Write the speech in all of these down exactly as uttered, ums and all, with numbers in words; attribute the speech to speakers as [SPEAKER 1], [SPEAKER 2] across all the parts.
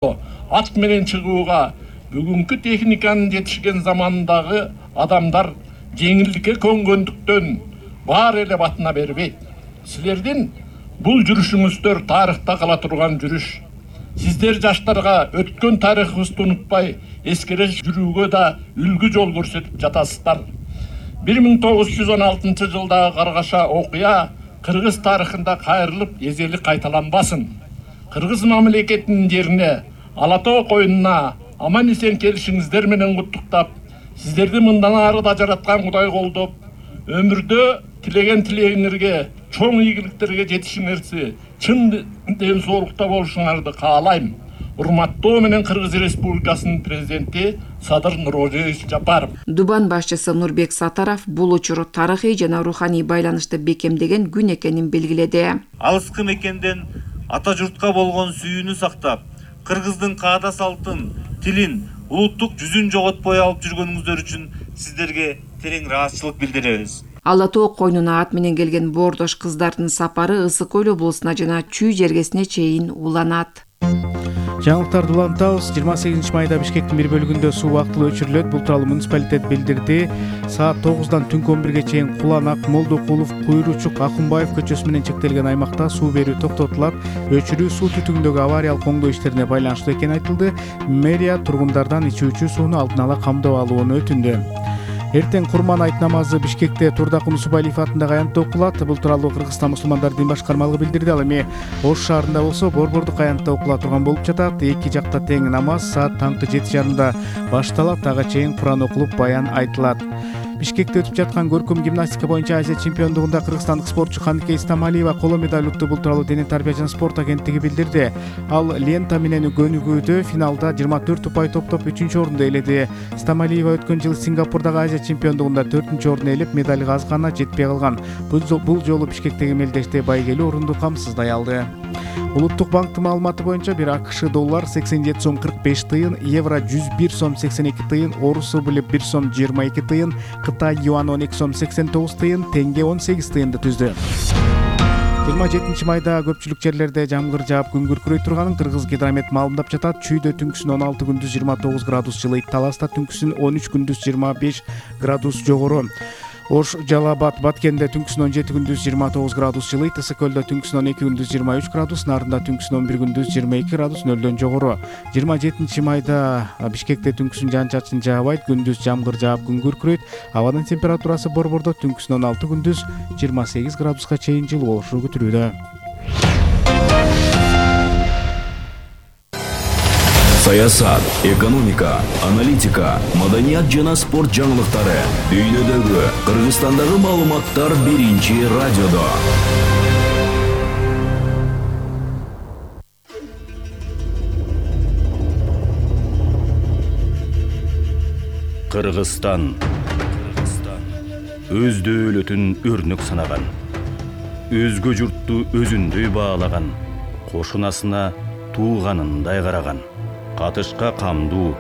[SPEAKER 1] ат менен чыгууга бүгүнкү техниканын жетишкен замандагы адамдар жеңилдикке көнгөндүктөн баары эле батына бербейт. Силердин бул жүрүшүңүздөр тарыхта кала турган жүрүш. Сиздер жаштарга өткөн тарыхыбызды унутпай, эскере жүрүүгө да үлгү жол көрсөтүп жатасыздар. бир миң тогуз жүз он алтынчы жылдагы каргаша окуя кыргыз тарыхында кайрылып эзели кайталанбасын. Кыргыз мамлекетинин жерине, Ала Тоо коюнуна аман эсен келишиңиздер менен куттуктап, сиздерди мындан ары да жараткан Кудай колдоп, өмүрдө тилеген тилегиңерге, чоң ийгиликтерге жетишиңерди, чын ден соолукта болушуңарды каалайм. Урматтоо менен Кыргыз Республикасынын президенти Садыр Нурожеевич Жапаров.
[SPEAKER 2] Дубан башчысы Нурбек Сатаров бул учур тарыхый жана руханий байланышты бекемдеген күн экенин белгиледи.
[SPEAKER 3] Алыскы мекенден ата журтка болгон сүйүүнү сактап, кыргыздын каада салтын, тилин, улуттук жүзүн жоготпой алып жүргөнүңүздөр үчүн сиздерге терең ыраазычылык билдиребиз.
[SPEAKER 2] Ала Тоо коюнуна ат менен келген боордош кыздардын сапары Ысык Көл облусуна жана Чүй жергесине чейин уланат.
[SPEAKER 4] Жаңылыктарды улантабыз. жыйырма сегизинчи майда Бишкектин бир бөлүгүндө суу убактылуу өчүрүлөт. Бул тууралуу муниципалитет билдирди. Саат тогуздан түнкү он бирге чейин Куланак, Молдокулов, Куйручук, Акунбаев көчөсү менен чектелген аймакта суу берүү токтотулат. Өчүрүү суу түтүгүндөгү авариялык оңдоо иштерине байланыштуу экени айтылды. Мэрия тургундардан ичүүчү сууну алдын ала камдап алууну өтүндү. Эртең Курман айт намазы Бишкекте Турдакун Усубалиев атындагы аянтта окулат. Бул тууралуу Кыргызстан мусулмандар дин башкармалыгы билдирди. Ал эми Ош шаарында болсо Борбордук аянтта окула турган болуп жатат. Эки жакта тең намаз саат таңкы жети жарымда башталат. Ага чейин Куран окулуп, баян айтылат. Бишкекте өтүп жаткан көркөм гимнастика боюнча Азия чемпиондугунда кыргызстандык спортчу Каныкей Стамалиева коло медаль утту. Бул тууралуу Дене тарбия жана спорт агенттиги билдирди. Ал лента менен көнүгүүдө финалда жыйырма төрт упай топтоп үчүнчү орунду ээледи. Стамалиева өткөн жылы Сингапурдагы Азия чемпиондугунда төртүнчү орун ээлеп, медалга аз гана жетпей калган. Бул жолу Бишкектеги мелдеште байгелүү орунду камсыздай алды. Улуттук банктын маалыматы боюнча бир АКШ доллар сексен жети сом кырк беш тыйын, евро жүз бир сом сексен эки тыйын, орус рубль бир сом жыйырма эки тыйын, Кытай юан он эки сом сексен тогуз тыйын, теңге он сегиз тыйынды түздү. жыйырма жетинчи майда көпчүлүк жерлерде жамгыр жаап күн күркүрөй турганын Кыргыз гидромет маалымдап жатат. Чүйдө түнкүсүн он алты, күндүз жыйырма тогуз градус жылыйт. Таласта түнкүсүн он үч, күндүз жыйырма беш градус жогору. Ош, Жалал-Абад, Баткенде түнкүсүн он жети, күндүз жыйырма тогуз градус жылыйт. Ысык Көлдө түнкүсүн он эки, күндүз жыйырма үч градус, Нарында түнкүсүн он бир, күндүз жыйырма эки градус, нөлдөн жогору. жыйырма жетинчи майда Бишкекте түнкүсүн жаан-чачын жаабайт, күндүз жамгыр жаап күн күркүрөйт. Абанын температурасы Борбордо түнкүсүн он алты, күндүз жыйырма сегиз градуска чейин жылуу болушу күтүлүүдө.
[SPEAKER 5] Саясат, экономика, аналитика, маданият жана спорт жаңылыктары дүйнөдөгү, Кыргызстандагы маалыматтар биринчи радиодо. Кыргызстан өз дөөлөтүн өрнөк санаган, өзгө журтту өзүндөй баалаган, кошунасына тууганындай караган, катышка камдуу,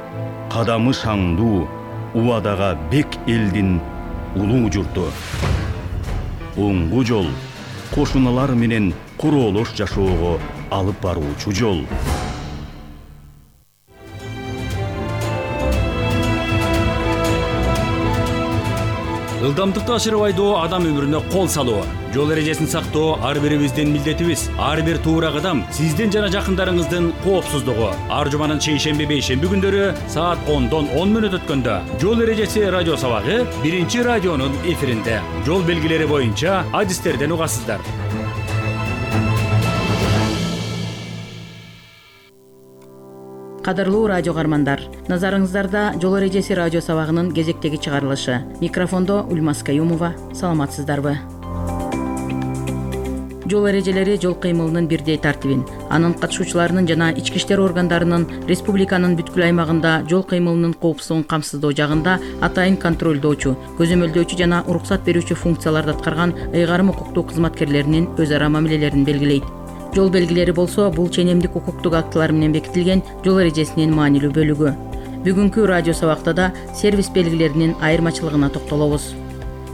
[SPEAKER 5] кадамы шаңдуу, убадага бек элдин улуу журту. Оңгу жол, кошуналар менен куроолош жашоого алып баруучу жол.
[SPEAKER 6] Ылдамдыкты ашырып айдоо адам өмүрүнө кол салуу. Жол эрежесин сактоо ар бирибиздин милдетибиз. Ар бир туура кадам сиздин жана жакындарыңыздын коопсуздугу. Ар жуманын шейшемби бейшемби күндөрү саат ондон он мүнөт өткөндө жол эрежеси радио сабагы биринчи радионун эфиринде. Жол белгилери боюнча адистерден угасыздар.
[SPEAKER 7] Кадырлуу радио каармандар, назарыңыздарда жол эрежеси радио сабагынын кезектеги чыгарылышы. Микрофондо Ульмас Каюмова. Саламатсыздарбы? Жол эрежелери жол кыймылынын бирдей тартибин, анын катышуучуларынын жана ички иштер органдарынын республиканын бүткүл аймагында жол кыймылынын коопсуздугун камсыздоо жагында атайын контролдоочу, көзөмөлдөөчү жана уруксат берүүчү функцияларды аткарган ыйгарым укуктуу кызматкерлеринин өз ара мамилелерин белгилейт. Жол белгилери болсо бул ченемдик укуктук актылар менен бекитилген жол эрежесинин маанилүү бөлүгү. Бүгүнкү радио сабакта да сервис белгилеринин айырмачылыгына токтолобуз.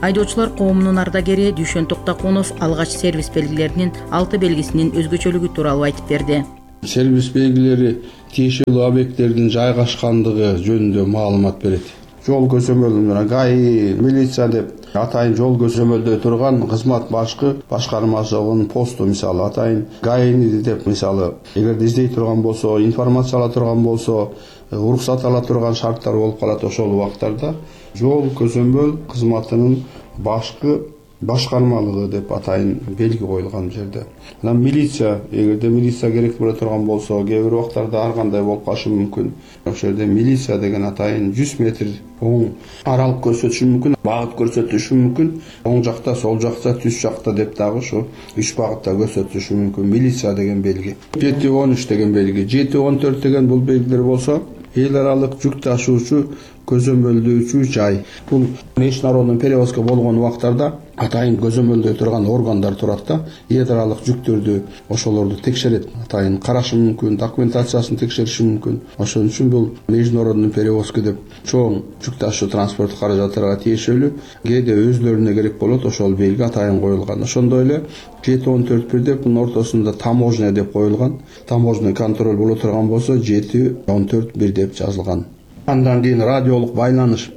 [SPEAKER 7] Айдоочулар коомунун ардагери Дүйшөн Токтокунов алгач сервис белгилеринин алты белгисинин өзгөчөлүгү тууралуу айтып берди.
[SPEAKER 8] сервис белгилери тиешелүү объекттердин жайгашкандыгы жөнүндө маалымат берет. Жол көзөмөлүнө ГАИ, милиция деп атайын жол көзөмөлдөй турган кызмат башкы башкармачылыгынын посту, мисалы атайын ГАИни деп, мисалы эгерде издей турган болсо, информация ала турган болсо, уруксат ала турган шарттар болуп калат. Ошол убактарда жол көзөмөл кызматынын башкы башкармалыгы деп атайын белги коюлган жерде. Анан милиция, эгерде милиция керек боло турган болсо, кээ бир убактарда ар кандай болуп калышы мүмкүн. Ошол жерде милиция деген атайын жүз метр оң аралык көрсөтүшү мүмкүн, багыт көрсөтүшү мүмкүн. Оң жакта, сол жакта, түз жакта деп дагы ушу үч багытта көрсөтүшү мүмкүн. Милиция деген белги. жети он үч деген белги, жети он төрт деген бул белгилер болсо, эл аралык жүк ташуучу көзөмөлдөөчү жай. Бул международный перевозка болгон убактарда атайын көзөмөлдөй турган органдар турат да, эл аралык жүктөрдү ошолорду текшерет, атайын карашы мүмкүн, документациясын текшериши мүмкүн. Ошон үчүн бул международный перевозка деп чоң жүк ташуу транспорт каражаттарга тиешелүү кээде өзлөрүнө керек болот, ошол белги атайын коюлган. Ошондой эле жети он төрт бир деп мунун ортосунда таможня деп коюлган. Таможня контроль боло турган болсо жети он төрт бир деп жазылган. Андан кийин радиолук байланыш.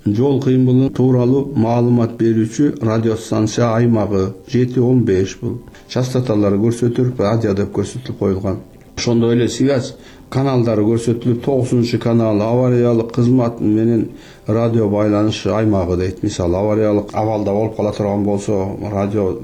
[SPEAKER 8] Жол кыймылы тууралуу маалымат берүүчү радиостанция аймагы жети он беш бул. Частоталары көрсөтүлүп, радио деп көрсөтүлүп коюлган. Ошондой эле связь каналдары көрсөтүлүп, тогузунчу канал авариялык кызмат менен радио байланыш аймагы дейт. Мисалы авариялык абалда болуп кала турган болсо, радио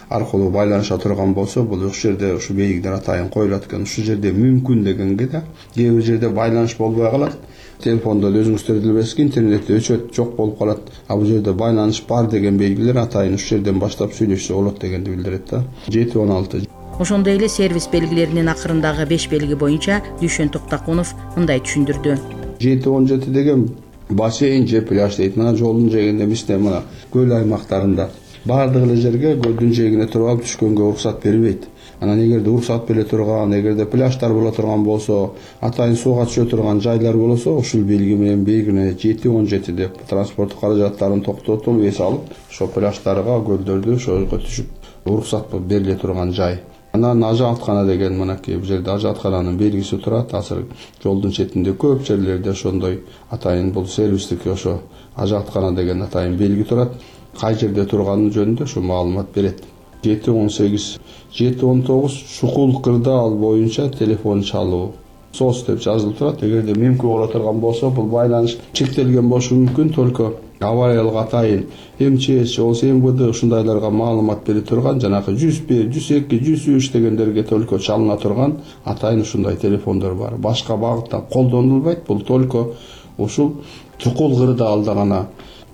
[SPEAKER 8] аркылуу байланыша турган болсо, бул ушул жерде ушу белгилер атайын коюлат экен. Ушул жерде мүмкүн дегенге да, кээ бир жерде байланыш болбой калат. Телефондо өзүңүздөр билесиз, интернетте өчөт жок болуп калат. А бул жерде байланыш бар деген белгилер атайын ушул жерден баштап сүйлөшсө болот дегенди билдирет да. жети он алты.
[SPEAKER 7] Ошондой эле сервис белгилеринин акырындагы беш белги боюнча Дүйшөн Токтакунов мындай түшүндүрдү.
[SPEAKER 8] жети он жети деген бассейн же пляж дейт. Мына жолдун жээгинде эместе, мына көл аймактарында баардык эле жерге көлдүн жээгине туруп алып түшкөнгө уруксат бербейт. Анан эгерде уруксат бере турган, эгерде пляждар боло турган болсо, атайын сууга түшө турган жайлар болсо, ушул белги менен белгиленет. жети он жети деп транспорт каражаттарын токтотуп, эс алып, ошо пляждарга, көлдөрдү ошого түшүп уруксат бериле турган жай. Анан ажааткана деген мынакей бул жерде ажааткананын белгиси турат. Азыр жолдун четинде көп жерлерде ошондой атайын бул сервистик ошо ажааткана деген атайын белги турат. Кай жерде турганы жөнүндө ошо маалымат берет. жети он сегиз, жети он тогуз чукул кырдаал боюнча телефон чалуу. сос деп жазылып турат. Эгерде мүмкүн боло турган болсо, бул байланыш чектелген болушу мүмкүн, только авариялык атайын эм че эс же болсо эм вэ дэ ушундайларга маалымат бере турган, жанагы жүз бир, жүз эки, жүз үч дегендерге только чалына турган атайын ушундай телефондор бар. Башка багытта колдонулбайт. Бул только ушул чукул кырдаалда гана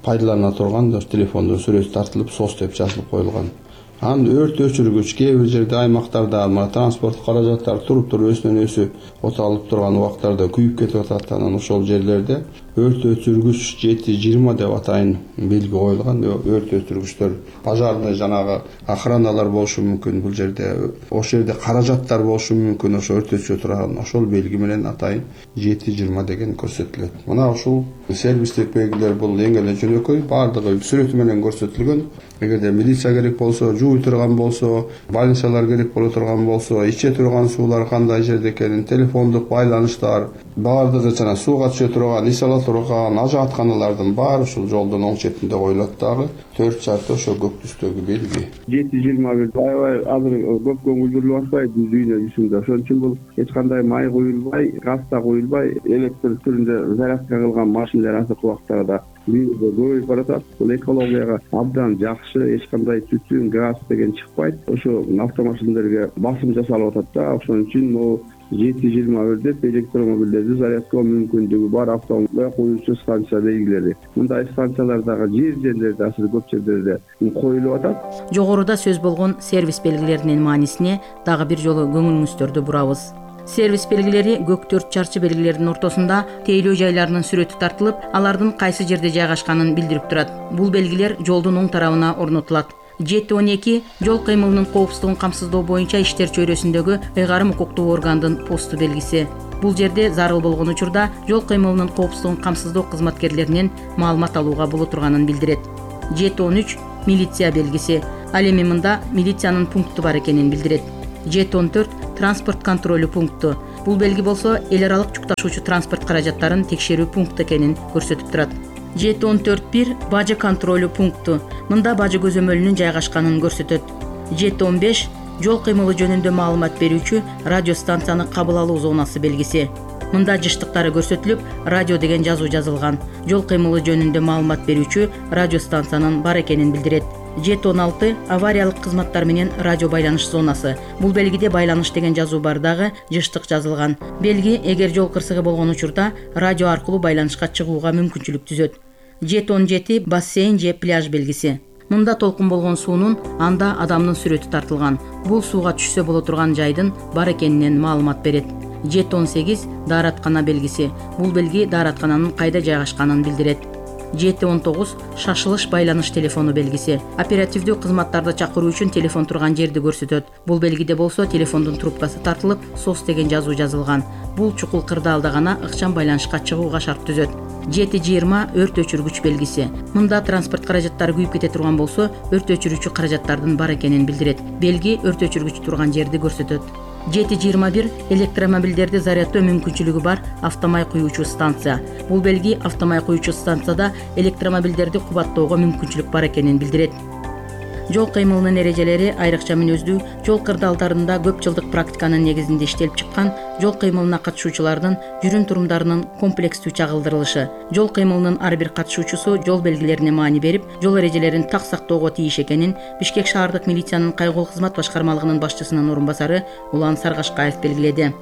[SPEAKER 8] пайдалана турган телефондун сүрөтү тартылып, сос деп жазылып коюлган. Анан өрт өчүргүч кээ бир жерде аймактарда мына транспорт каражаттары туруп туруп өсүнөн өсүп оталып турган убактарда күйүп кетип атат. Анан ошол жерлерде өрт өчүргүч жети жыйырма деп атайын белги коюлган. Өрт өчүргүчтөр пожарный жанагы охраналар болушу мүмкүн. Бул жерде ошол жерде каражаттар болушу мүмкүн. Ошо өрт өчүрө турган ошол белги менен атайын жети жыйырма деген көрсөтүлөт. Мына ушул сервистик белгилер бул эң эле жөнөкөй, баардыгы сүрөтү менен көрсөтүлгөн. Эгерде милиция керек болсо, жууй турган болсо, больницалар керек боло турган болсо, иче турган суулар кандай жерде экенин, телефондук байланыштар, баардыгы жана сууга түшө турган, эс ала турган ажаатканалардын баары ушул жолдун оң четинде коюлат дагы. төрт чарты ошо көк түстөгү белги. жети жыйырма бир аябай азыр көп көңүл бурулуп атпайбы дүйнө жүзүндө. Ошон үчүн бул эч кандай май куюлбай, газ да куюлбай, электр түрүндө зарядка кылган машиналар азыркы убактарда көбөйүп баратат. Бул экологияга абдан жакшы, эч кандай түтүн, газ деген чыкпайт. Ошо автомашиналерге басым жасалып атат да. Ошон үчүн могу жети жыйырма бир деп электромобилдерди зарядкалоо мүмкүндүгү бар автомобиль коюучу станция белгилери. Мындай станциялар дагы жер жерлерде азыр көп жерлерде коюлуп атат.
[SPEAKER 7] Жогоруда сөз болгон сервис белгилеринин маанисине дагы бир жолу көңүлүңүздөрдү бурабыз. Сервис белгилери көк төрт чарчы белгилердин ортосунда тейлөө жайларынын сүрөтү тартылып, алардын кайсы жерде жайгашканын билдирип турат. Бул белгилер жолдун оң тарабына орнотулат. жети он эки жол кыймылынын коопсуздугун камсыздоо боюнча иштер чөйрөсүндөгү ыйгарым укуктуу органдын посту белгиси. Бул жерде зарыл болгон учурда жол кыймылынын коопсуздугун камсыздоо кызматкерлеринен маалымат алууга боло турганын билдирет. жети он үч милиция белгиси. Ал эми мында милициянын пункту бар экенин билдирет. жети он төрт транспорт контролю пункту. Бул белги болсо эл аралык жүк ташуучу транспорт каражаттарын текшерүү пункту экенин көрсөтүп турат. жети он төрт бир бажы контролю пункту. Мында бажы көзөмөлүнүн жайгашканын көрсөтөт. жети он беш жол кыймылы жөнүндө маалымат берүүчү радио станцияны кабыл алуу зонасы белгиси. Мында жыштыктары көрсөтүлүп, радио деген жазуу жазылган. Жол кыймылы жөнүндө маалымат берүүчү радио станциянын бар экенин билдирет. жети он алты авариялык кызматтар менен радио байланыш зонасы. Бул белгиде байланыш деген жазуу бар дагы жыштык жазылган. Белги эгер жол кырсыгы болгон учурда радио аркылуу байланышка чыгууга мүмкүнчүлүк түзөт. жети он жети бассейн же пляж белгиси. Мында толкун болгон суунун анда адамдын сүрөтү тартылган. Бул сууга түшсө боло турган жайдын бар экенинен маалымат берет. жети он сегиз даараткана белгиси. Бул белги даараткананын кайда жайгашканын билдирет. жети он тогуз шашылыш байланыш телефону белгиси. Оперативдүү кызматтарды чакыруу үчүн телефон турган жерди көрсөтөт. Бул белгиде болсо телефондун трубкасы тартылып, сос деген жазуу жазылган. Бул чукул кырдаалда гана ыкчам байланышка чыгууга шарт түзөт. жети жыйырма өрт өчүргүч белгиси. Мында транспорт каражаттары күйүп кете турган болсо, өрт өчүрүүчү каражаттардын бар экенин билдирет. Белги өрт өчүргүч турган жерди көрсөтөт. жети жыйырма бир электромобилдерди заряддоо мүмкүнчүлүгү бар автомай куюучу станция. Бул белги автомай куюучу станцияда электромобилдерди кубаттоого мүмкүнчүлүк бар экенин билдирет. Жол кыймылынын эрежелери айрыкча мүнөздүү жол кырдаалдарында көп жылдык практиканын негизинде иштелип чыккан жол кыймылына катышуучулардын жүрүм турумдарынын комплекстүү чагылдырылышы. Жол кыймылынын ар бир катышуучусу жол белгилерине маани берип, жол эрежелерин так сактоого тийиш экенин Бишкек шаардык милициянын кайгылуу кызмат башкармалыгынын башчысынын орун басары Улан Саргашкаев белгиледи.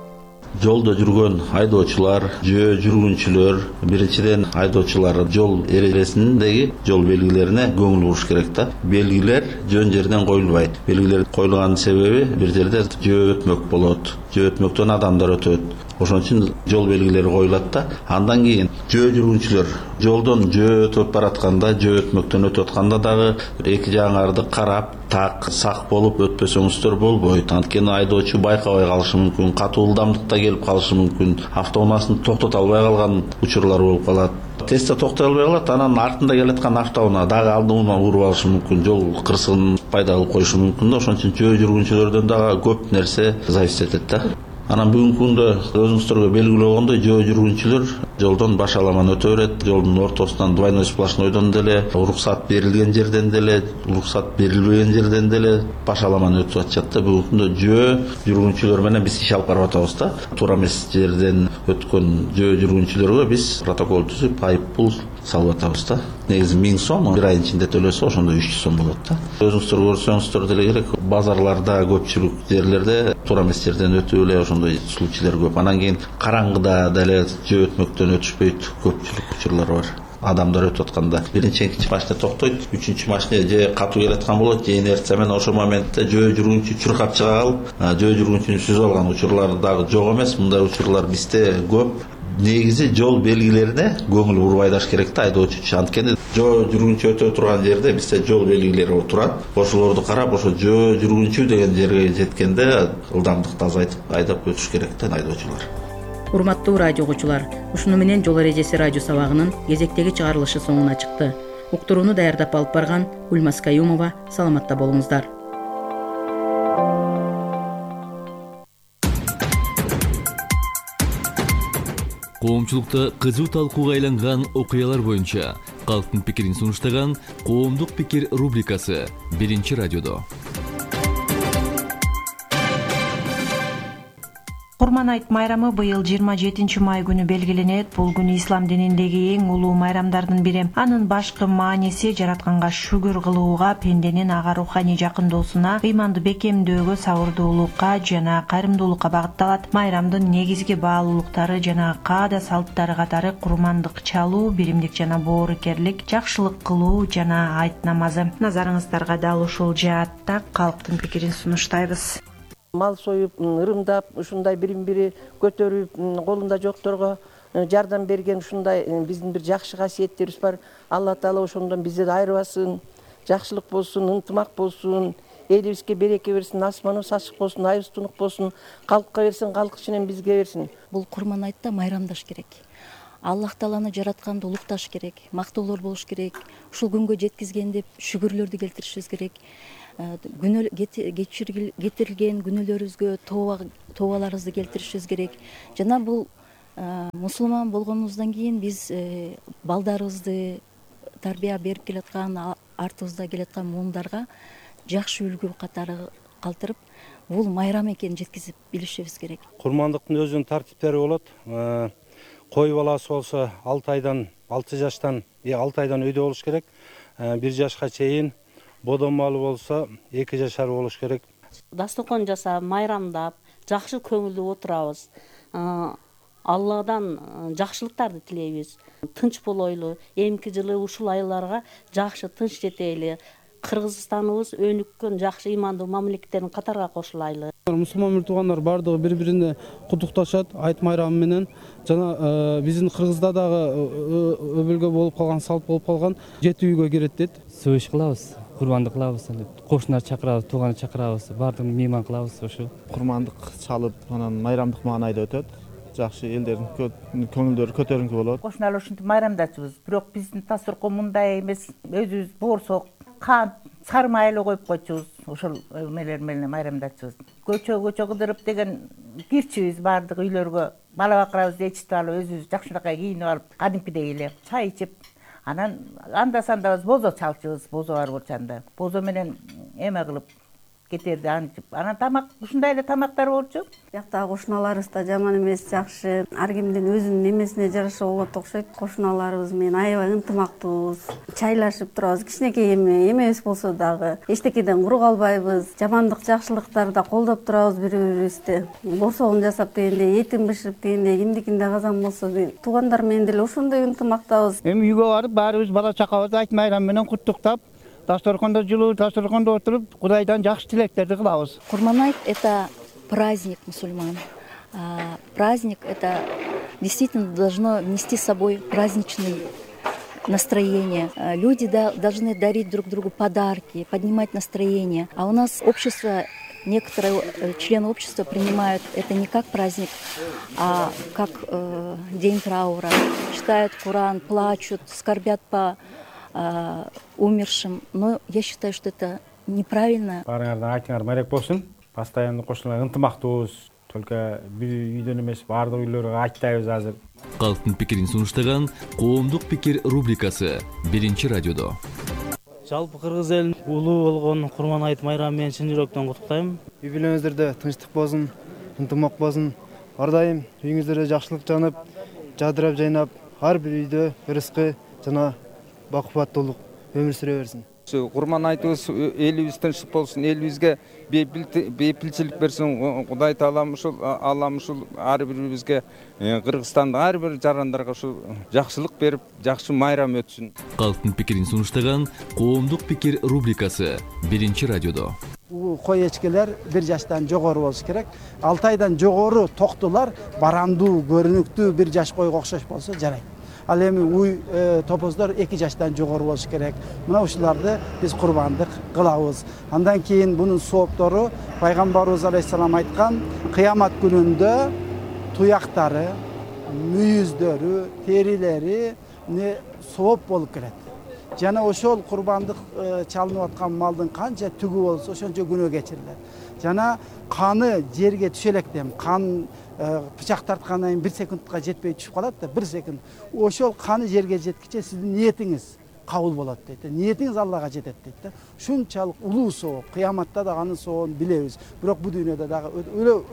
[SPEAKER 9] Жолдо жүргөн айдоочулар, жөө жүргүнчүлөр, биринчиден айдоочулар жол эрежесиндеги жол белгилерине көңүл буруш керек да. Белгилер жөн жерден коюлбайт. Белгилер коюлганын себеби бир жерде жөө өтмөк болот. Жөө өтмөктөн адамдар өтөт. Ошон үчүн жол белгилери коюлат да. Андан кийин жөө жүргүнчүлөр жолдон жөө өтүп баратканда, жөө өтмөктөн өтүп атканда дагы эки жагыңарды карап, так, сак болуп өтпөсөңүздөр болбойт. Анткени айдоочу байкабай калышы мүмкүн, катуу ылдамдыкта келип калышы мүмкүн, автоунаасын токтото албай калган учурлар болуп калат. Тезде токтой албай калат, анан артында келаткан автоунаа дагы алдынан уруп алышы мүмкүн, жол кырсыгын пайда кылып коюшу мүмкүн да. Ошон үчүн жөө жүргүнчүлөрдөн дагы көп нерсе зависит этет да. Анан бүгүнкү күндө өзүңүздөргө белгилүү болгондой жөө жүргүнчүлөр жолдон башаламан өтө берет. Жолдун ортосунан двойной сплошнойдон деле, уруксат берилген жерден деле, уруксат берилбеген жерден деле башаламан өтүп атышат да. Бүгүнкү күндө жөө жүргүнчүлөр менен биз иш алып барып атабыз да. Туура эмес жерден өткөн жөө жүргүнчүлөргө биз протокол түзүп, айып пул салып атабыз да. Негизи миң сом, бир айдын ичинде төлөсө ошондо үч жүз сом болот да. Өзүңүздөр көрсөңүздөр деле керек, базарларда, көпчүлүк жерлерде туура эмес жерден өтүп эле ошондой случайлар көп. Анан кийин караңгыда деле жөө өтмөктөн өтүшпөйт, көпчүлүк учурлар бар. Адамдар өтүп атканда биринчи экинчи машина токтойт, үчүнчү машина же катуу келаткан болот, же инерция менен ошол моментте жөө жүргүнчү чуркап чыга калып, жөө жүргүнчүнү сүзүп алган учурлар дагы жок эмес. Мындай учурлар бизде көп. Негизи жол белгилерине көңүл буруп айдаш керек да айдоочу. Анткени жөө жүргүнчү өтө турган жерде бизде жол белгилери турат. Ошолорду карап, ошо жөө жүргүнчү деген жерге жеткенде ылдамдыкты азайтып айдап өтүш керек да айдоочулар.
[SPEAKER 7] Урматтуу радио угуучулар, ушуну менен жол эрежеси радио сабагынын кезектеги чыгарылышы соңуна чыкты. Уктурууну даярдап алып барган Ульмас Каюмова, саламатта болуңуздар.
[SPEAKER 10] Коомчулукта кызуу талкууга айланган окуялар боюнча калктын пикирин сунуштаган Коомдук пикир рубрикасы биринчи радиодо.
[SPEAKER 11] Курман айт майрамы быйыл жыйырма жетинчи май күнү белгиленет. Бул күн ислам дининдеги эң улуу майрамдардын бири. Анын башкы мааниси жаратканга шүгүр кылууга, пенденин ага руханий жакындоосуна, ыйманды бекемдөөгө, сабырдуулукка жана кайрымдуулукка багытталат. Майрамдын негизги баалуулуктары жана каада салттары катары курмандык чалуу, биримдик жана боорукерлик, жакшылык кылуу жана айт намазы. Назарыңыздарга дал ушул жаатта калктын пикирин сунуштайбыз.
[SPEAKER 12] Мал союп, ырымдап, ушундай бирин-бири көтөрүп, колунда жокторго жардам берген ушундай биздин бир жакшы касиеттерибиз бар. Алла Таала ошондон бизди айырбасын, жакшылык болсун, ынтымак болсун, элибизге береке берсин, асманыбыз ачык болсун, айыбыз тунук болсун, калкка берсин, калк ичинен бизге берсин.
[SPEAKER 13] Бул Курман айтта майрамдаш керек. Аллах Тааланы жаратканды улукташ керек, мактоолор болуш керек, ушул күнгө жеткизген деп шүгүрлөрдү келтиришибиз керек. кетирилген күнөөлөрүбүзгө тообаларыбызды келтиришибиз керек. Жана бул мусулман болгонубуздан кийин биз балдарыбызды тарбия берип келаткан, артыбызда келаткан муундарга жакшы үлгү катары калтырып, бул майрам экенин жеткизип билишибиз керек.
[SPEAKER 14] Курмандыктын өзүнүн тартиптери болот. Кой баласы болсо алты айдан алты жаштан алты айдан өйдө болуш керек. бир жашка чейин, бодон малы болсо эки жашар болуш керек.
[SPEAKER 15] Дасторкон жасап, майрамдап, жакшы көңүлдүү отурабыз. Алладан жакшылыктарды тилейбиз. Тынч болойлу. Эмки жылы ушул айларга жакшы тынч жетели. Кыргызстаныбыз өнүккөн жакшы ыймандуу мамлекеттердин катарга кошулайлы.
[SPEAKER 16] Мусулман туугандар бардыгы бири-бирине куттукташат айт майрамы менен. Жана биздин Кыргызда дагы өбөлгө болуп калган, салт болуп калган жети үйгө кирет дейт.
[SPEAKER 17] Сөөш кылабыз, курмандык кылабыз, кошуналарды чакырабыз, тууганды чакырабыз, бардыгын мейман кылабыз ошо.
[SPEAKER 18] Курмандык чалып, анан майрамдык маанайда өтөт. Жакшы элдердин көңүлдөрү көтөрүңкү болот.
[SPEAKER 19] Кошуналар ушинтип майрамдачыбыз. Бирок биздин дасторкон мындай эмес, өзүбүз боорсок, кант, сары майлы коюп койчубуз. Ошол эмелер менен майрамдачыбыз. Көчө көчө кыдырып деген кирчибиз бардык үйлөргө. Бала бакырабызды ээрчитип алып, өзүбүз жакшынакай кийинип алып, кадимкидей эле чай ичип, анан анда сандабыз бозо чалчубыз, бозо бар болчанда. Бозо менен эме кылып кетерди антип. Анан тамак ушундай эле тамактар болчу.
[SPEAKER 20] Жактагы кошуналарыбыз да жаман эмес, жакшы. Ар кимдин өзүнүн эмесине жараша болот окшойт. Кошуналарыбыз менен аябай ынтымактуубуз. Чайлашып турабыз. Кичинекей эме эмебиз болсо дагы эчтекеден куру калбайбыз. Жамандык, жакшылыктарды колдоп турабыз бири-бирибизди. Борсогун жасап дегенде, этин бышырып дегенде, кимдикинде казан болсо туугандар менен деле ошондой ынтымактабыз.
[SPEAKER 21] Эми үйгө барып баарыбыз бала чакабызды айт майрам менен куттуктап, дасторкондо жылуу, дасторкондо отуруп, Кудайдан жакшы тилектерди кылабыз.
[SPEAKER 13] Курманайт — это праздник мусульман. А праздник — это действительно должно нести с собой праздничный настроение. Люди должны дарить друг другу подарки, поднимать настроение. А у нас общество, некоторые члены общества принимают это не как праздник, а как э, день траура. Читают Коран, плачут, скорбят по умершим, но я считаю, что это неправильно.
[SPEAKER 4] Баарыңардан айтыңар марек болсун. Постоянно кошуналар ынтымактуубуз. Только бир үйдөн эмес, баардык үйлөргө айтпайбыз азыр.
[SPEAKER 10] Калктын пикирин сунуштаган Коомдук пикир рубрикасы биринчи радиодо.
[SPEAKER 22] Жалпы кыргыз элин улуу болгон Курманайт майрамы менен чын жүрөктөн куттуктайм.
[SPEAKER 16] Үй бүлөңүздөрдө тынчтык болсун, ынтымак болсун. Ар дайым үйүңүздөрдө жакшылык жанып, жадырап жайнап, ар бир үйдө рызкы жана бакубаттуулук өмүр сүрө берсин.
[SPEAKER 23] Курманайтыбыз элибиз тынчтык болсун, элибизге бейпилчилик берсин. Кудай Таалам ушул Аллам ушул ар бирибизге, Кыргызстандын ар бир жарандарга ушул жакшылык берип, жакшы майрам өтсүн.
[SPEAKER 10] Калктын пикирин сунуштаган Коомдук пикир рубрикасы биринчи радиодо.
[SPEAKER 21] Кой эчкелер бир жаштан жогору болуш керек. алты айдан жогору токтулар барамдуу, көрүнүктүү бир жаш койго окшош болсо жарайт. Ал эми уй топоздор эки жаштан жогору болуш керек. Мына ушуларды биз курбандык кылабыз. Андан кийин бунун сооптору пайгамбарыбыз алейхисалам айткан, кыямат күнүндө туяктары, мүйүздөрү, терилери не сооп болуп келет. Жана ошол курбандык чалынып аткан малдын канча түгү болсо ошончо күнөө кечирилет. Жана каны жерге түшө электем, кан бычак тарткандан кийин бир секундка жетпей түшүп калат да, бир секунд. Ошол каны жерге жеткиче сиздин ниетиңиз кабыл болот дейт. Ниетиңиз Аллага жетет дейт да. Ушунчалык улуу сооп, кыяматта да анын сообун билебиз. Бирок бу дүйнөдө дагы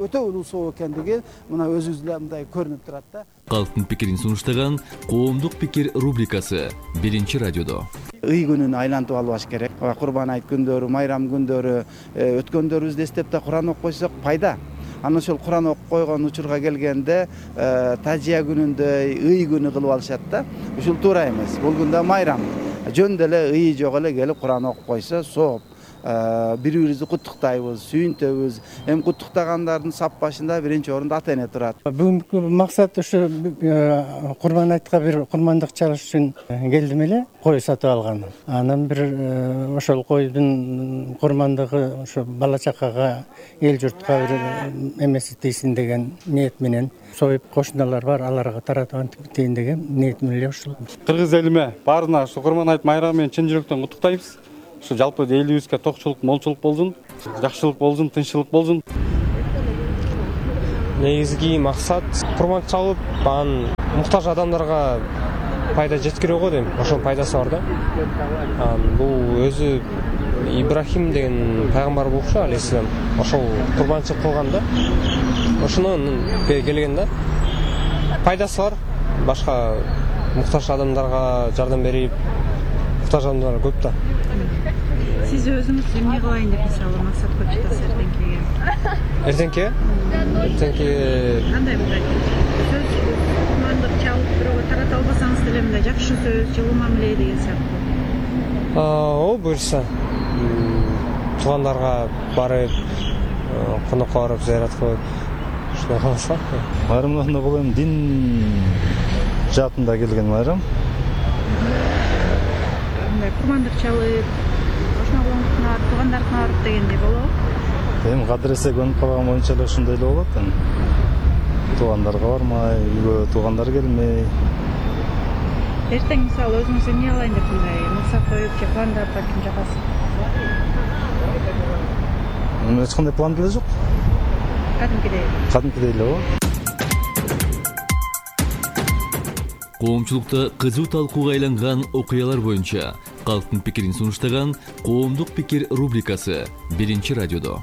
[SPEAKER 21] өтө улуу сооп экендиги мына өзүбүзгө мындай көрүнүп турат да.
[SPEAKER 10] Калктын пикирин сунуштаган Коомдук пикир рубрикасы биринчи радиодо.
[SPEAKER 21] Ый күнүн айлантып албаш керек. Курбан айт күндөрү, майрам күндөрү өткөндөрүбүздү эстеп да Куран окуп койсок пайда. Анан ошол Куран окуп койгон учурга келгенде тажия күнүндөй ый күнү кылып алышат да. Ушул туура эмес. Бул күндө майрам. Жөн деле ый жок эле келип Куран окуп койсо сооп. Бири-бирибизди куттуктайбыз, сүйүнтөбүз. Эми куттуктагандардын сап башында биринчи орунда ата эне турат.
[SPEAKER 22] Бүгүнкү максат ушу Курбан айтка бир курмандык чалыш үчүн келдим эле, кой сатып алгам. Анан бир ошол койдун курмандыгы ошо бала чакага, эл журтка бир эмеси тийсин деген ниет менен союп кошуналар бар, аларга таратып антип кетейин деген ниет менен ушул.
[SPEAKER 16] Кыргыз элиме баарына ушу Курман айт майрамы менен чын жүрөктөн куттуктайбыз.
[SPEAKER 1] ушу жалпы элибизге токчулук молчулук болсун, жакшылык болсун, тынччылык болсун.
[SPEAKER 2] Негизги максат курман чалып, анан муктаж адамдарга пайда жеткирүү го дейм. Ошонун пайдасы бар да. Бул өзү Ибрахим деген пайгамбар болчу, алейхиссалам. Ошол курбанчылык кылган да. Ошонун келген да. Пайдасы бар. Башка муктаж адамдарга жардам берип, муктаж адамдар көп да.
[SPEAKER 3] Сиз өзүңүз эмне кылайын деп мисалы максат коюп жатасыз эртеңкиге?
[SPEAKER 2] Эртеңки? Эртеңки
[SPEAKER 3] кандай мындай сөз курмандык чалып бирөөгө тарата албасаңыз деле мындай жакшы сөз, жылуу мамиле деген сыяктуу.
[SPEAKER 2] О, буюрса. Туугандарга барып, конокко барып зыярат кылып, ушундай кылса.
[SPEAKER 24] Майрамдагында бул эми дин жаатында келген майрам.
[SPEAKER 3] Мындай курмандык чалып, ошногуңузга барып, туугандарына барып дегендей болобу?
[SPEAKER 24] Эми кадыр эсе көнүп калган боюнча эле ушундай эле болот. Эми туугандарга бармай, үйгө туугандар келмей.
[SPEAKER 3] Эртең мисалы өзүңүз эмне кылайын деп мындай максат коюп, же пландап ким жагасыз?
[SPEAKER 24] Эми эч кандай план деле жок.
[SPEAKER 3] Кадимкидей.
[SPEAKER 24] Кадимкидей эле го.
[SPEAKER 10] Коомчулукта кызуу талкууга айланган окуялар боюнча калктын пикирин сунуштаган Коомдук пикир рубрикасы биринчи радиодо.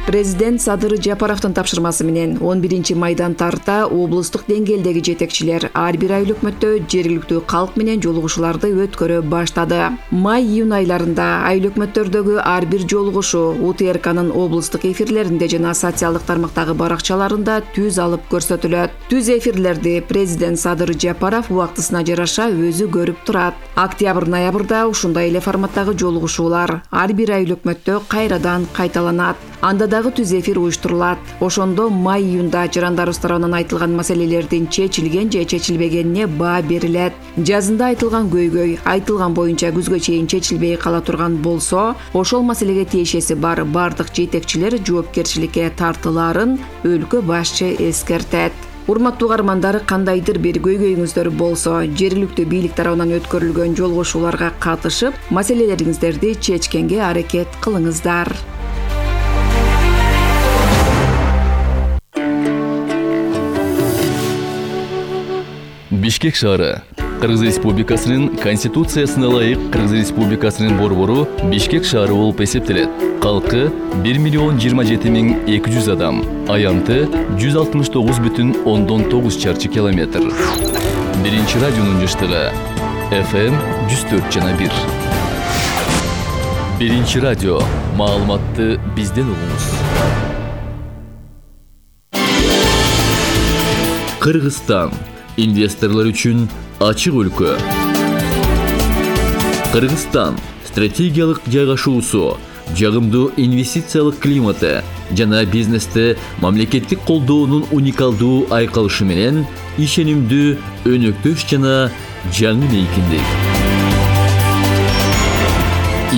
[SPEAKER 25] Президент Садыр Жапаровдун тапшырмасы менен он биринчи майдан тарта облустук деңгээлдеги жетекчилер ар бир ай өкмөттө жергиликтүү калк менен жолугушууларды өткөрө баштады. Май-июнь айларында ай өкмөттөрдөгү ар бир жолугушуу У Т Р К'нын облустук эфирлеринде жана социалдык тармактагы баракчаларында түз алып көрсөтүлөт. Түз эфирлерди президент Садыр Жапаров убактысына жараша өзү көрүп турат. Октябрь-ноябрда ушундай эле форматтагы жолугушуулар ар бир ай өкмөттө кайрадан кайталанат. Анда дагы түз эфир уюштурулат. Ошондо май-июнда жарандарыбыз тарабынан айтылган маселелердин чечилген же чечилбегенине баа берилет. Жазында айтылган көйгөй айтылган боюнча күзгө чейин чечилбей кала турган болсо, ошол маселеге тиешеси бар бардык жетекчилер жоопкерчиликке тартылаарын өлкө башчы эскертет. Урматтуу угармандар, кандайдыр бир көйгөйүңүздөр болсо, жергиликтүү бийлик тарабынан өткөрүлгөн жолугушууларга катышып, маселелериңиздерди чечкенге аракет кылыңыздар.
[SPEAKER 10] Бишкек шаары Кыргыз Республикасынын Конституциясына ылайык Кыргыз Республикасынын борбору Бишкек шаары болуп эсептелет. Калкы бир миллион жыйырма жети миң эки жүз адам, аянты жүз алтымыш тогуз бүтүн ондон тогуз чарчы километр. Биринчи радионун жыштыгы эф эм жүз төрт жана бир. Биринчи радио, маалыматты бизден угуңуз. Кыргызстан инвесторлор үчүн ачык өлкө. Кыргызстан стратегиялык жайгашуусу, жагымдуу инвестициялык климаты жана бизнесте мамлекеттик колдоонун уникалдуу айкалышы менен ишенимдүү, өнөктөш жана жаңы мейкиндик.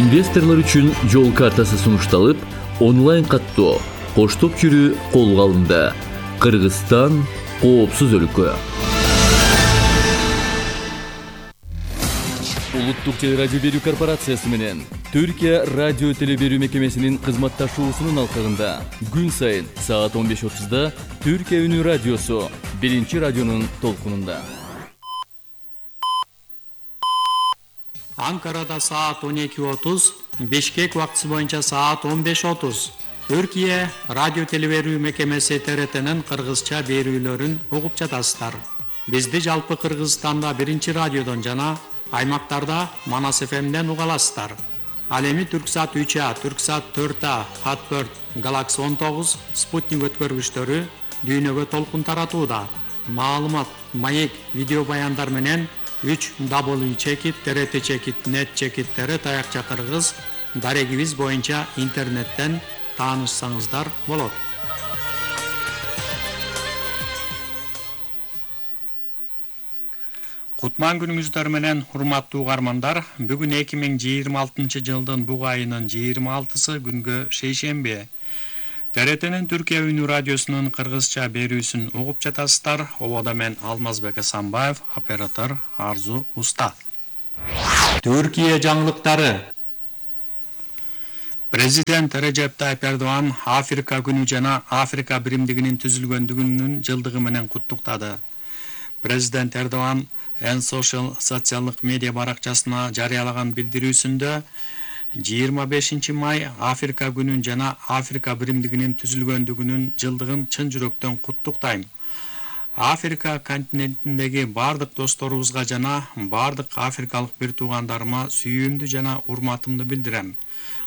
[SPEAKER 10] Инвесторлор үчүн жол картасы сунушталып, онлайн каттоо, коштоп жүрүү колго алынды. Кыргызстан коопсуз өлкө. Улуттук телерадио берүү корпорациясы менен Түркия радио телеберүү мекемесинин кызматташуусунун алкагында күн сайын саат он беш отузда Түркия үнү радиосу биринчи радионун толкунунда.
[SPEAKER 26] Анкарада саат он эки отуз, Бишкек убактысы боюнча саат он беш отуз. Түркия радио телеберүү мекемеси Т Р Т'нин кыргызча берүүлөрүн угуп жатасыздар. Бизди жалпы Кыргызстанда биринчи радиодон жана аймактарда Манас эф эмден уга аласыздар. Ал эми Түрксат үч А, Түрксат төрт А, Хатберт, Галакси он тогуз, Спутник өткөргүчтөрү дүйнөгө толкун таратууда. Маалымат, маек, видео баяндар менен үч дабл ю чекит Т Р Т чекит нет чекиттери таякча кыргыз дарегибиз боюнча интернеттен таанышсаңыздар болот. Кутман күнүңүздөр менен урматтуу угармандар, бүгүн эки миң жыйырма алтынчы жылдын буг айынын жыйырма алтысы күнгө шейшемби. Т Р Т'нин Түркия үнү радиосунун кыргызча берүүсүн угуп жатасыздар. Обода мен Алмазбек Асанбаев, оператор Арзу Уста. Түркия жаңылыктары. Президент Режеп Тайып Эрдоган Африка күнү жана Африка биримдигинин түзүлгөндүгүнүн жылдыгы менен куттуктады. Президент Эрдоган Эн Social социалдык медиа баракчасына жарыялаган билдирүүсүндө жыйырма бешинчи май Африка күнүн жана Африка биримдигинин түзүлгөндүгүнүн жылдыгын чын жүрөктөн куттуктайм. Африка континентиндеги бардык досторубузга жана бардык африкалык бир туугандарыма сүйүүмдү жана урматымды билдирем.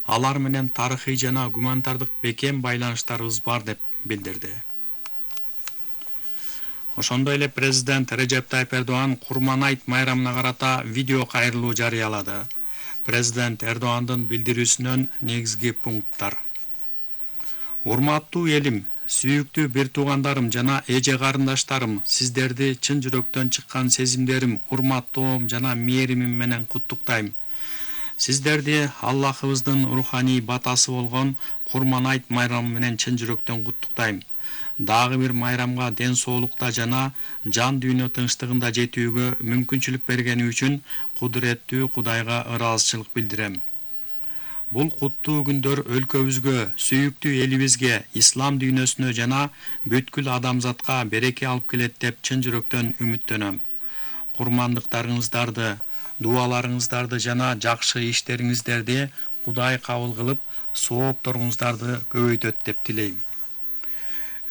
[SPEAKER 26] Алар менен тарыхый жана гуманитардык бекем байланыштарыбыз бар деп билдирди. Ошондой эле президент Режеп Тайып Эрдоган Курман айт майрамына карата видео кайрылуу жарыялады. Президент Эрдогандын билдирүүсүнөн негизги пункттар. Урматтуу элим, сүйүктүү бир туугандарым жана эже карындаштарым, сиздерди чын жүрөктөн чыккан сезимдерим, урматтоом жана мээримим менен куттуктайм. Сиздерди Аллахыбыздын руханий батасы болгон Курман айт майрамы менен чын жүрөктөн куттуктайм. Дагы бир майрамга ден соолукта жана жан дүйнө тынчтыгында жетүүгө мүмкүнчүлүк бергени үчүн кудуреттүү Кудайга ыраазычылык билдирем. Бул куттуу күндөр өлкөбүзгө, сүйүктүү элибизге, ислам дүйнөсүнө жана бүткүл адамзатка береке алып келет деп чын жүрөктөн үмүттөнөм. Курмандыктарыңыздарды, дуаларыңыздарды жана жакшы иштериңиздерди Кудай кабыл кылып, соопторуңуздарды көбөйтөт деп тилейм.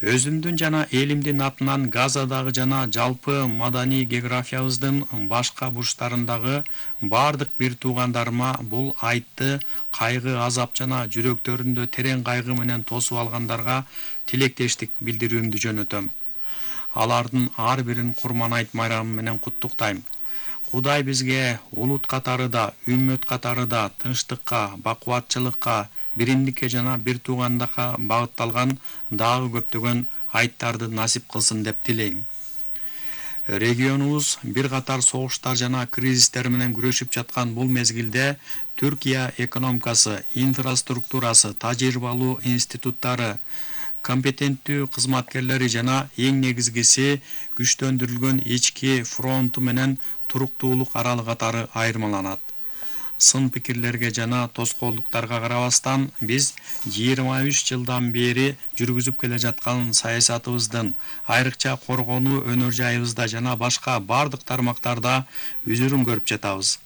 [SPEAKER 26] Өзүмдүн жана элимдин атынан Газадагы жана жалпы маданий географиябыздын башка бурчтарындагы бардык бир туугандарыма бул айтты кайгы, азап жана жүрөктөрүндө терең кайгы менен тосуп алгандарга тилектештик билдирүүмдү жөнөтөм. Алардын ар бирин Курман айт майрамы менен куттуктайм. Кудай бизге улут катары да, үммөт катары да тынчтыкка, бакубатчылыкка, биримдикке жана бир туугандыкка багытталган дагы көптөгөн айттарды насип кылсын деп тилейм. Регионубуз бир катар согуштар жана кризистер менен күрөшүп жаткан бул мезгилде Түркия экономикасы, инфраструктурасы, тажрыйбалуу институттары, компетенттүү кызматкерлери жана эң негизгиси күчтөндүрүлгөн ички фронту менен туруктуулук аралы катары айырмаланат. Сын пикирлерге жана тоскоолдуктарга карабастан биз жыйырма үч жылдан бери жүргүзүп келе жаткан саясатыбыздын, айрыкча коргонуу өнөр жайыбызда жана башка бардык тармактарда үзүрүн көрүп жатабыз.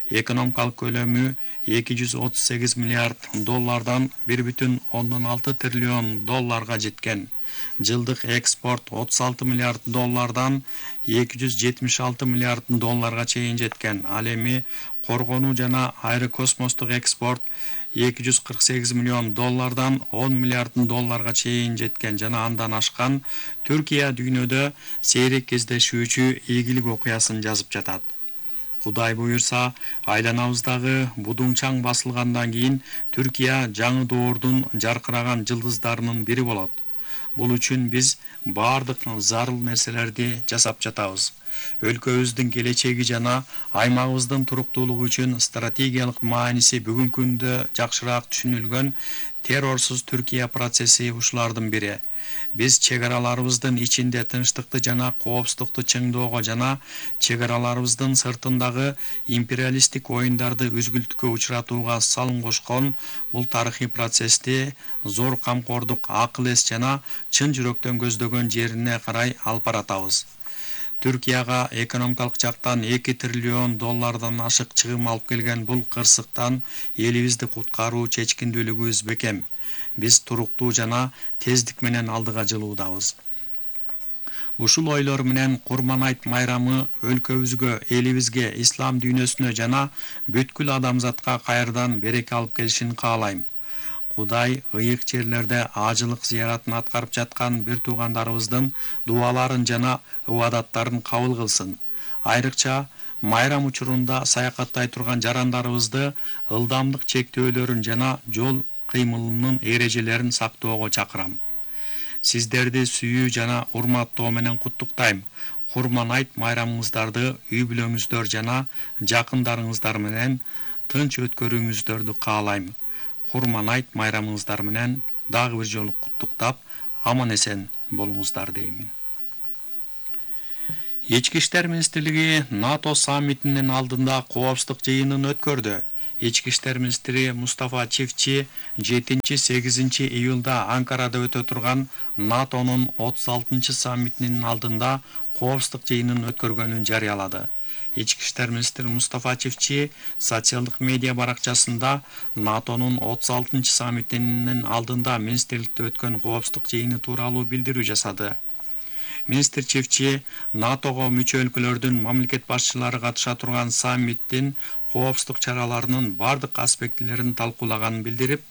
[SPEAKER 26] Экономикалык көлөмү эки жүз отуз сегиз миллиард доллардан бир бүтүн ондон алты триллион долларга жеткен. Жылдык экспорт отуз алты миллиард доллардан эки жүз жетимиш алты миллиард долларга чейин жеткен. Ал эми коргонуу жана аэрокосмостук экспорт эки жүз кырк сегиз миллион доллардан он миллиард долларга чейин жеткен жана андан ашкан. Түркия дүйнөдө сейрек кездешүүчү ийгилик окуясын жазып жатат. Кудай буюрса, айланабыздагы будуңчаң басылгандан кийин Түркия жаңы доордун жаркыраган жылдыздарынын бири болот. Бул үчүн биз бардык зарыл нерселерди жасап жатабыз. Өлкөбүздүн келечеги жана аймагыбыздын туруктуулугу үчүн стратегиялык мааниси бүгүнкү күндө жакшыраак түшүнүлгөн террорсуз Түркия процесси ушулардын бири. Биз чегараларыбыздын ичинде тынчтыкты жана коопсуздукту чыңдоого жана чегараларыбыздын сыртындагы империалисттик оюндарды үзгүлтүккө учуратууга салым кошкон бул тарыхый процессти зор камкордук, акыл эс жана чын жүрөктөн көздөгөн жерине карай алып баратабыз. Түркияга экономикалык жактан эки триллион доллардан ашык чыгым алып келген бул кырсыктан элибизди куткаруу чечкиндүүлүгүбүз бекем. Биз туруктуу жана тездик менен алдыга жылуудабыз. Ушул ойлор менен Курман айт майрамы өлкөбүзгө, элибизге, ислам дүйнөсүнө жана бүткүл адамзатка кайрадан береке алып келишин каалайм. Кудай ыйык жерлерде ажылык зыяратын аткарып жаткан бир туугандарыбыздын дуаларын жана убадаттарын кабыл кылсын. Айрыкча майрам учурунда саякаттай турган жарандарыбызды ылдамдык чектөөлөрүн жана жол кыймылынын эрежелерин сактоого чакырам. Сиздерди сүйүү жана урматтоо менен куттуктайм. Курман айт майрамыңыздарды үй бүлөңүздөр жана жакындарыңыздар менен тынч өткөрүүңүздөрдү каалайм. Курман айт майрамыңыздар менен дагы бир жолу куттуктап, аман эсен болуңуздар деймин. Ички иштер министрлиги НАТО саммитинин алдында коопсуздук жыйынын өткөрдү. Ички иштер министри Мустафа Чифчи жетинчи сегизинчи июлда Анкарада өтө турган НАТОнун отуз алтынчы саммитинин алдында коопсуздук жыйынын өткөргөнүн жарыялады. Ички иштер министри Мустафа Чифчи социалдык медиа баракчасында НАТОнун отуз алтынчы саммитинин алдында министрликте өткөн коопсуздук жыйыны тууралуу билдирүү жасады. Министр Чифчи НАТОго мүчө өлкөлөрдүн мамлекет башчылары катыша турган саммиттин коопсуздук чараларынын бардык аспектилерин талкуулаганын билдирип,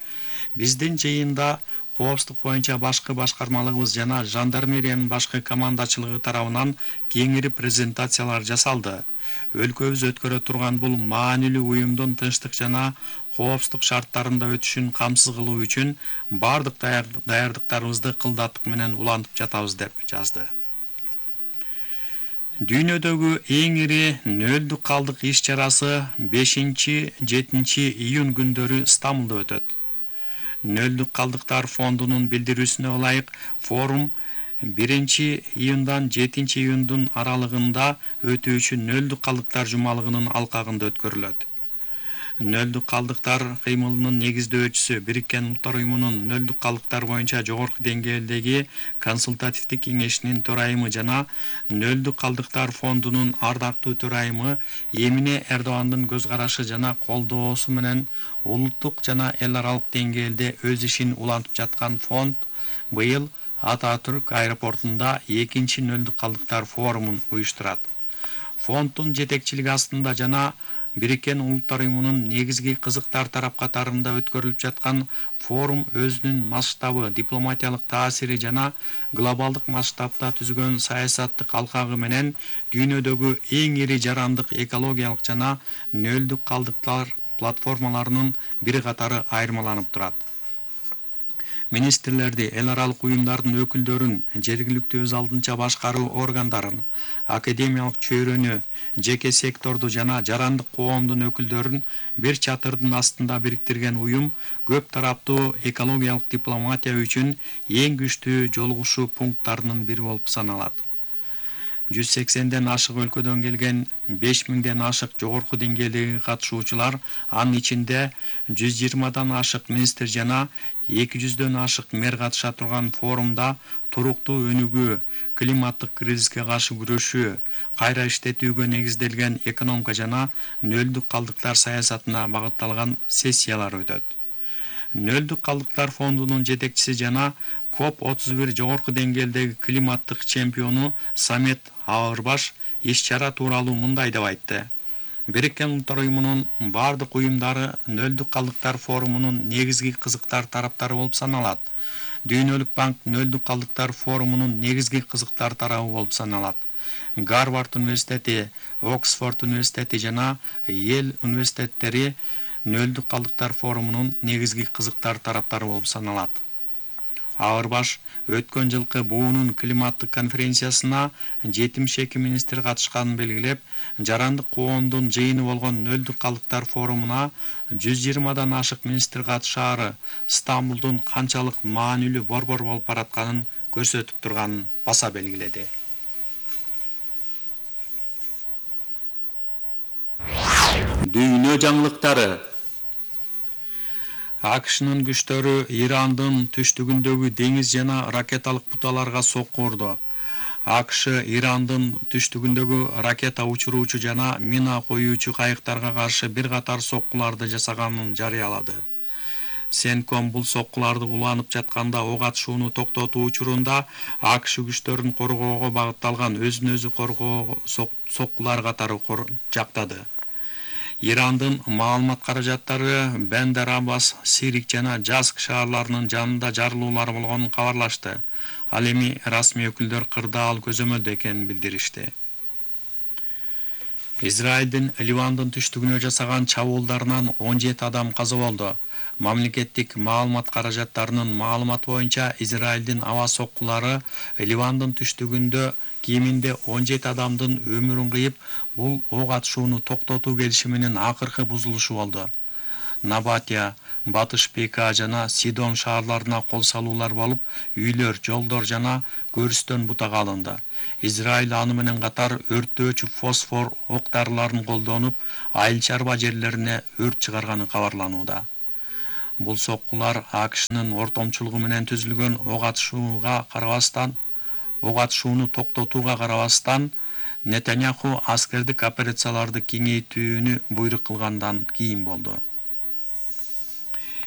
[SPEAKER 26] биздин жыйында коопсуздук боюнча башкы башкармалыгыбыз жана жандармериянын башкы командачылыгы тарабынан кеңири презентациялар жасалды. Өлкөбүз өткөрө турган бул маанилүү уюмдун тынчтык жана коопсуздук шарттарында өтүшүн камсыз кылуу үчүн бардык даярдыктарыбызды кылдаттык менен улантып жатабыз деп жазды. Дүйнөдөгү эң ири нөлдүк калдык иш чарасы бешинчи жетинчи июнь күндөрү Стамбулда өтөт. Нөлдүк калдыктар фондунун билдирүүсүнө ылайык форум биринчи июндан жетинчи июндун аралыгында өтүүчү нөлдүк калдыктар жумалыгынын алкагында өткөрүлөт. Нөлдүк калдыктар кыймылынын негиздөөчүсү Бириккен Улуттар уюмунун нөлдүк калдыктар боюнча жогорку деңгээлдеги консультативдик кеңешинин төрайымы жана нөлдүк калдыктар фондунун ардактуу төрайымы Эмине Эрдогандын көз карашы жана колдоосу менен улуттук жана эл аралык деңгээлде өз ишин улантып жаткан фонд быйыл Ататүрк аэропортунда экинчи нөлдүк калдыктар форумун уюштурат. Фонддун жетекчилиги астында жана Бириккен Улуттар уюмунун негизги кызыктар тарап катарында өткөрүлүп жаткан форум өзүнүн масштабы, дипломатиялык таасири жана глобалдык масштабта түзгөн саясаттык алкагы менен дүйнөдөгү эң ири жарандык экологиялык жана нөлдүк калдыктар платформаларынын бир катары айырмаланып турат. Министрлерди, эл аралык уюмдардын өкүлдөрүн, жергиликтүү өз алдынча башкаруу органдарын, академиялык чөйрөнү, жеке секторду жана жарандык коомдун өкүлдөрүн бир чатырдын астында бириктирген уюм көп тараптуу экологиялык дипломатия үчүн эң күчтүү жолугушуу пункттарынын бири болуп саналат. жүз сексенден ашык өлкөдөн келген беш миңден ашык жогорку деңгээлдеги катышуучулар, анын ичинде жүз жыйырмадан ашык министр жана эки жүздөн ашык мэр катыша турган форумда туруктуу өнүгүү, климаттык кризиске каршы күрөшүү, кайра иштетүүгө негизделген экономика жана нөлдүк калдыктар саясатына багытталган сессиялар өтөт. Нөлдүк калдыктар фондунун жетекчиси жана коп отуз бир жогорку деңгээлдеги климаттык чемпиону Самет Ауырбаш иш-чара тууралуу мындай деп айтты. Бириккен Улуттар уюмунун бардык уюмдары нөлдүк калдыктар форумунун негизги кызыктар тараптары болуп саналат. Дүйнөлүк банк нөлдүк калдыктар форумунун негизги кызыктар тарабы болуп саналат. Гарвард университети, Оксфорд университети жана Йел университеттери нөлдүк калдыктар форумунун негизги кызыктар тараптары болуп саналат. Ауырбаш өткөн жылкы буунун климаттык конференциясына жетимиш эки министр катышканын белгилеп, жарандык коомдун жыйыны болгон нөлдүк калдыктар форумуна жүз жыйырмадан ашык министр катышаары Стамбулдун канчалык маанилүү борбор болуп баратканын көрсөтүп турганын баса белгиледи. Дүйнө жаңылыктары. АКШнын күчтөрү Ирандын түштүгүндөгү деңиз жана ракеталык буталарга сокку урду. АКШ Ирандын түштүгүндөгү ракета учуруучу жана мина коюучу кайыктарга каршы бир катар соккуларды жасаганын жарыялады. Сенком бул соккуларды уланып жатканда ок атышууну токтотуу учурунда АКШ күчтөрүн коргоого багытталган өзүн өзү коргоо соккулар катары жактады. Ирандын маалымат каражаттары Бендар Аббас, Сирик жана Жаск шаарларынын жанында жарылуулар болгонун кабарлашты. Ал эми расмий өкүлдөр кырдаал көзөмөлдө экенин билдиришти. Израилдин Ливандын түштүгүнө жасаган чабуулдарынан он жети адам каза болду. Мамлекеттик маалымат каражаттарынын маалыматы боюнча Израилдин аба соккулары Ливандын түштүгүндө кеминде он жети адамдын өмүрүн кыйып, бул ок атышууну токтотуу келишиминин акыркы бузулушу болду. Набатия, Батыш Бека жана Сидон шаарларына кол салуулар болуп, үйлөр, жолдор жана көрүстөн бутага алынды. Израиль аны менен катар өрттөөчү фосфор ок дарыларын колдонуп, айыл чарба жерлерине өрт чыгарганы кабарланууда. Бул соккулар АКШнын ортомчулугу менен түзүлгөн ок атышууга карабастан, ок атышууну токтотууга карабастан, Нетаньяху аскердик операцияларды кеңейтүүнү буйрук кылгандан кийин болду.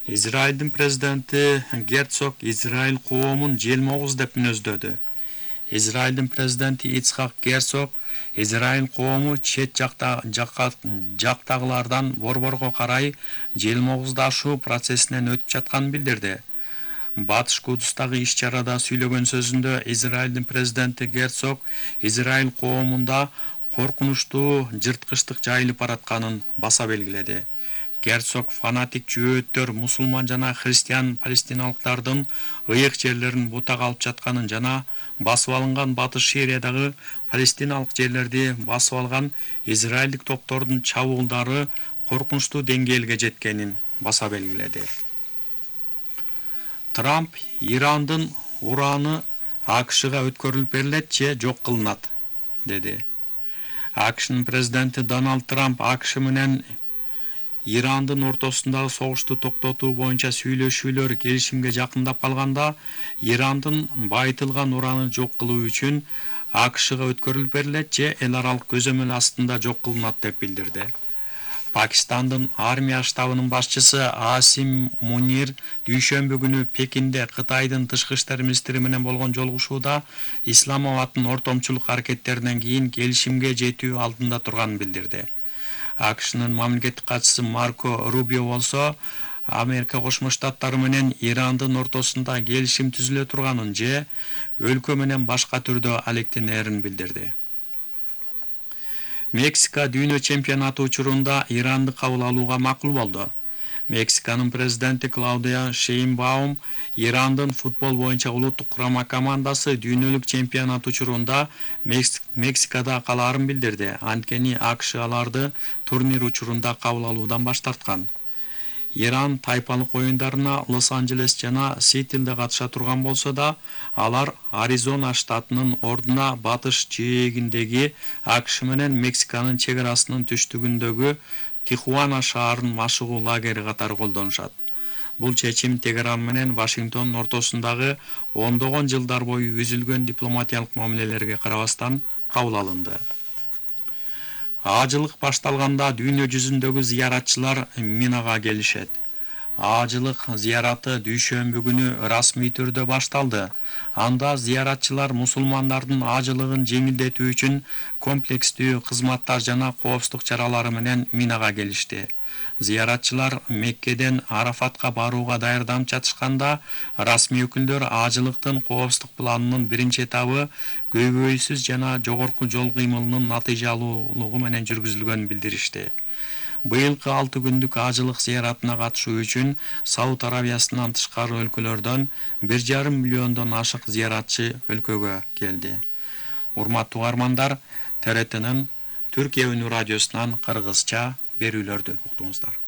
[SPEAKER 26] Израилдин президенти Герцог Израиль коомун желмогуз деп мүнөздөдү. Израилдин президенти Ицхак Герцог Израиль коому чет жакта жактагылардан борборго карай желмогуздашуу процессинен өтүп жатканын билдирди. Батыш Кудустагы иш-чарада сүйлөгөн сөзүндө Израилдин президенти Герцог Израиль коомунда коркунучтуу жырткычтык жайылып баратканын баса белгиледи. Герцог фанатик жөөттөр мусулман жана христиан палестиналыктардын ыйык жерлерин бутага алып жатканын жана басып алынган Батыш Сириядагы палестиналык жерлерди басып алган израилдик топтордун чабуулдары коркунучтуу деңгээлге жеткенин баса белгиледи. Трамп Ирандын ураны АКШга өткөрүлүп берилет же жок кылынат, деди. АКШнын президенти Дональд Трамп АКШ менен Ирандын ортосундагы согушту токтотуу боюнча сүйлөшүүлөр келишимге жакындап калганда, Ирандын байытылган уранын жок кылуу үчүн АКШга өткөрүлүп берилет же эл аралык көзөмөл астында жок кылынат деп билдирди. Пакистандын армия штабынын башчысы Асим Мунир дүйшөмбү күнү Пекинде Кытайдын тышкы иштер министри менен болгон жолугушууда Исламабадтын ортомчулук аракеттеринен кийин келишимге жетүү алдында турганын билдирди. АКШнын мамлекеттик катчысы Марко Рубио болсо, Америка Кошмо Штаттары менен Ирандын ортосунда келишим түзүлө турганын же өлкө менен башка түрдө алектенерин билдирди. Мексика дүйнө чемпионаты учурунда Иранды кабыл алууга макул болду. Мексиканын президенти Клаудия Шейнбаум Ирандын футбол боюнча улуттук курама командасы дүйнөлүк чемпионат учурунда Мексикада калаарын билдирди. Анткени АКШ аларды турнир учурунда кабыл алуудан баш тарткан. Иран тайпалык оюндарына Лос-Анджелес жана Сиэтлде катыша турган болсо да, алар Аризона штатынын ордуна батыш жээгиндеги АКШ менен Мексиканын чек арасынын түштүгүндөгү Тихуана шаарын машыгуу лагери катары колдонушат. Бул чечим Тегеран менен Вашингтондун ортосундагы ондогон жылдар бою үзүлгөн дипломатиялык мамилелерге карабастан кабыл алынды. Ажылык башталганда дүйнө жүзүндөгү зыяратчылар Минага келишет. Ажылык зыяраты дүйшөмбү күнү расмий түрдө башталды. Анда зыяратчылар мусулмандардын ажылыгын жеңилдетүү үчүн комплекстүү кызматтар жана коопсуздук чаралары менен Минага келишти. Зыяратчылар Меккеден Арафатка барууга даярданып жатышканда, расмий өкүлдөр ажылыктын коопсуздук планынын биринчи этабы көйгөйсүз жана жогорку жол кыймылынын натыйжалуулугу менен жүргүзүлгөнүн билдиришти. Быйылкы алты күндүк ажылык зыяратына катышуу үчүн Сауд Арабиясынан тышкары өлкөлөрдөн бир жарым миллиондон ашык зыяратчы өлкөгө келди. Урматтуу угармандар, Т Р Тнын Түркия үнү радиосунан кыргызча берүүлөрдү уктуңуздар.